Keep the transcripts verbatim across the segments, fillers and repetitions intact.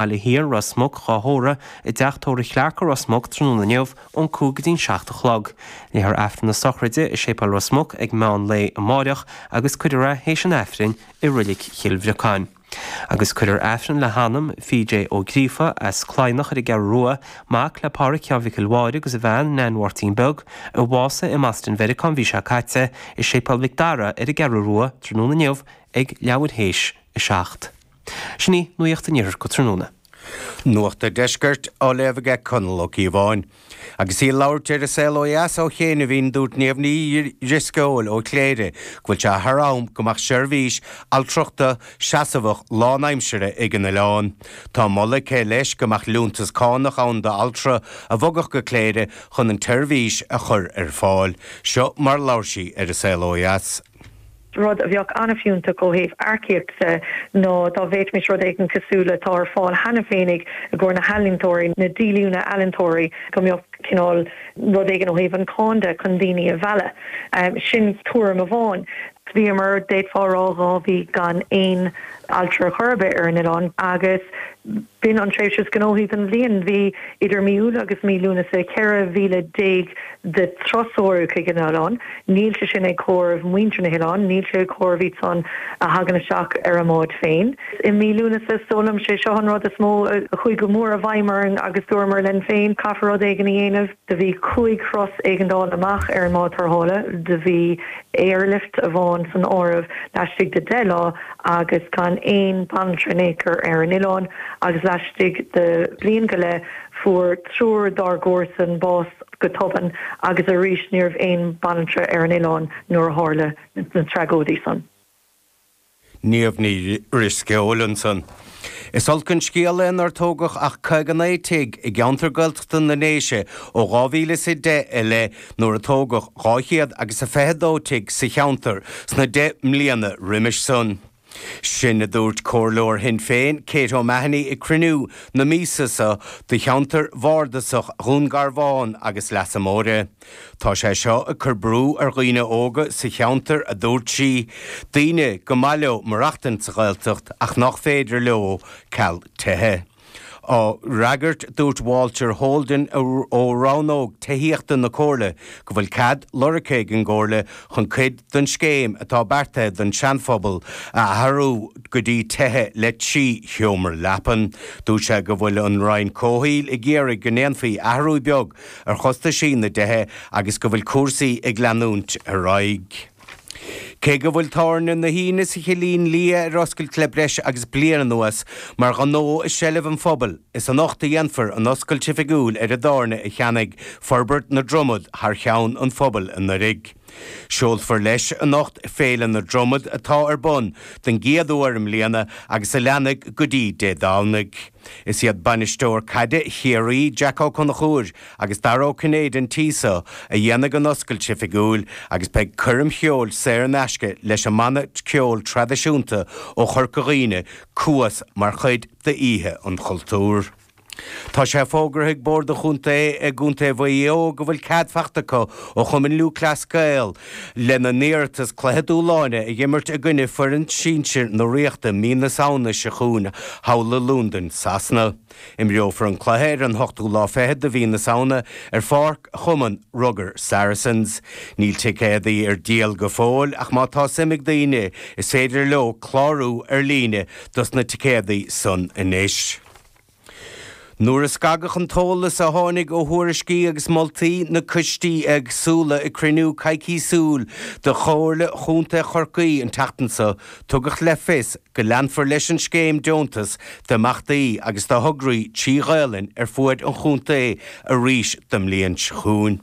Baile Thiar, Ros Muc, dhá thórramh i dteach tórraimh Chlarke Ros Muc tráthnóna inniu ón cúig go dtí'n seacht a chlog. Léifear Aifreann na sochraide i Séipéal Ros Muc ag meán lae amáireach agus cuirfear é théis an Aifrinn i Reilig Chill Bhriocáin. Agus cuirfear Aifreann le hanam P.J. Ó Gríofa as Cladhnach ar an gCeathrú Rua, mac le Pádraic Sheáin Mhicil Mháire agus a bhean Nan Mháirtín Beag, a bhásaigh i mBoston Mheiriceá an mhí seo caite, i Séipéal Mhic Dara ar an gCeathrú Rua tráthnóna inniu ag leathuair théis a seacht. Sin í nuacht an iarthair go tráthnóna. Nuacht an Deiscirt á léamh aige Conall Ó Cíobháin. Agus í ag labhairt ar An Saol Ó Dheas ó chianaibh, dúirt Niamh Ní Dhrisceoil ó Chléire go bhfuil sé thar am go mbeadh seirbhís altrachta seasmhach lánaimseartha ag an oileán. Tá moladh aici leis go mbeadh liúntas cánach ann d'altra a bhogfadh go Cléire chun an tseirbhís a chur ar fáil. Seo mar a labhair sí ar An Saol Ó Dheas. Rud a bheadh an-fhiúntach ó thaobh earcaíochta ná dá bhféadfaimis rud éigin cosúil le atá ar fáil cheana féinig i gcomhair na healaíontóirí, na díolúine ealaíontóirí, go mbeadh cineál rud éigin ó thaobh an cáin de chun daoine a mhealladh. Sin tuairim amháin. Bhíomar, d'fhéadfá a rá, dhá mhí gan aon altra ar chor ar bith ar an oileán agus b'in an tréimhse is gnóthaí den bhliain. Bhí idir mí Iúil agus mí Lúnasa ceithre mhíle déag de thurasóirí chuig an oileán. Níl sé sin ag comhaireamh muintir na hoileáin, níl sé ag comhaireamh iad san a thagann isteach ar a mbáid féin. I mí Lúnasa, is dóigh liom, sé seo an rud is mó a chuaigh go mór i bhfeidhm orainn agus dúramar linn féin, caithfear rud éigin a dhéanamh. Do bhí cúig thuras éigeandála amach ar an mbád tarrthála, do bhí airlift amháin san áireamh laistigh de deich lá agus gan aon banaltra in aon chor ar an oileán agus laistigh de bhliain go leith fuair triúr dár gcomharsan bás go tobann agus arís ní raibh aon banaltra ar an oileán nuair a tharla na tragóidí san. Niamh Ní Dhrisceoil ansan. Is olc an scéal é nár tógadh ach caoga naoi tigh i gceantar Gaeltachta na nDéise ó dhá mhíle is a deich i leith nuair a tógadh dhá chéad agus a fiche dó tigh sa cheantar sna deich mbliana roimis san. Sin a dúirt Comhairleoir Shinn Féin, Kate O'Mahony ag cruinniú na míosa seo do cheantar bhardasach Dhún Garbhán agus Leasa Móire. Tá sé seo ag cur brú ar dhaoine óga sa cheantar, a dúirt sí, daoine go maith leo maireachtaint sa Ghaeltacht ach nach féidir leo ceal tithe. Á fhreagairt, dúirt Walter Holden ó rannóg tithíochta na Comhairle go bhfuil cead lorgtha ag an gComhairle chun cuid den scéim atá beartaithe don Seanphobal a athrú go dtí tithe le trí sheomra leapan. Dúirt sé go bhfuil an Roinn Comhshaoil ag iarraidh go ndéanfaí athrú beag ar chostaisí na dtithe agus go bhfuil cúrsaí ag leanúint ar aghaidh. Cé go bhfuil Tábhairne na hAoine sa Chillín Liath ar oscailt le breis agus bliain anuas mar ghnó i seilbh an phobail, is anocht a dhéanfar an oscailt oifigiúil ar an dtábhairne a cheannaigh Forbairt na Dromad thar cheann an phobail anuraidh. Seolfar leis anocht Féile na Dromad atá ar bun don gcéad uair i mbliana agus a leanfaidh go dtí Dé Domhnaigh. Is iad bainisteoir caide Chiarraí, Jack Ó Conchúir agus Dara Ó Cinnéide an tí seo a dhéanfaidh an oscailt oifigiúil agus beidh coirm cheoil saor in aisce leis an mbanna ceoil traidisiúnta ó Chorca Dhuibhne, Cuas, mar chuid d'Oíche an Chultúir. Tá sé fógartha ag Bord an Chontae i gContae Mhaigh Eo go bhfuil cead faighte acu ó Chumann Lúthchleas Gael lena n-iarratas cluiche dúshláin a dh'imirt i gcoinne foireann sinsir na Ríochta mí na Samhna seo chugainn thall i Londain, Sasana. Imreofar an cluiche ar an ochtú lá fichead de mhí na Samhna ar pháirc Chumann Rugair Saracens. Níl ticéadaí ar díol go fóill ach má tá suim ag daoine is féidir leo clárú ar líne dos na ticéadaí san anois. Nuair a scagadh an t-eolas a tháinig ó thuairiscí agus moltaí na coistí éagsúla ag cruinniú coicíosúil de Chomhairle Chontae Chorcaí an tseachtain seo, tugadh le fios go leanfar leis an scéim deontas d'imeachtaí agus do thograí trí Ghaelainn ar fuaid an chontae arís don mbliain seo chugainn.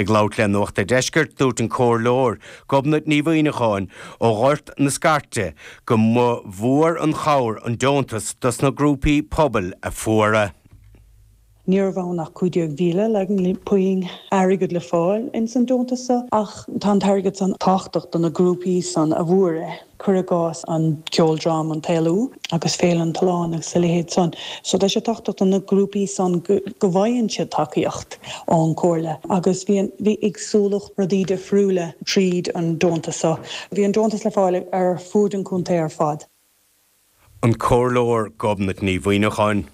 Ag labhairt le Nuacht a' Deiscirt, dúirt an Comhairleoir Gobnait Ní Mhuimhneacháin ó Ghort na Scairte go mba mhór an chabhair an deontas dos na grúpaí pobail a fuair é. Ní raibh ann ach cúig déag mhíle le puinn airgead le fáil ins an deontas so ach tá an t-airgead san tábhachtach do na grúpaí san a bhfuair é. Cuir i gcás an ceoldráma An tÉalú agus Féile an tSuláin agus a leithéid san. So tá sé tábhachtach do na grúpaí san go bhfaigheann siad tacaíocht ón Chomhairle agus bhí an, bhí éagsúlacht rudaí difriúla tríd an deontas so. Bhí an deontas le fáil ar fuaid an chontae ar fad. An Comhairleoir Gobnait Ní Mhuineacháin.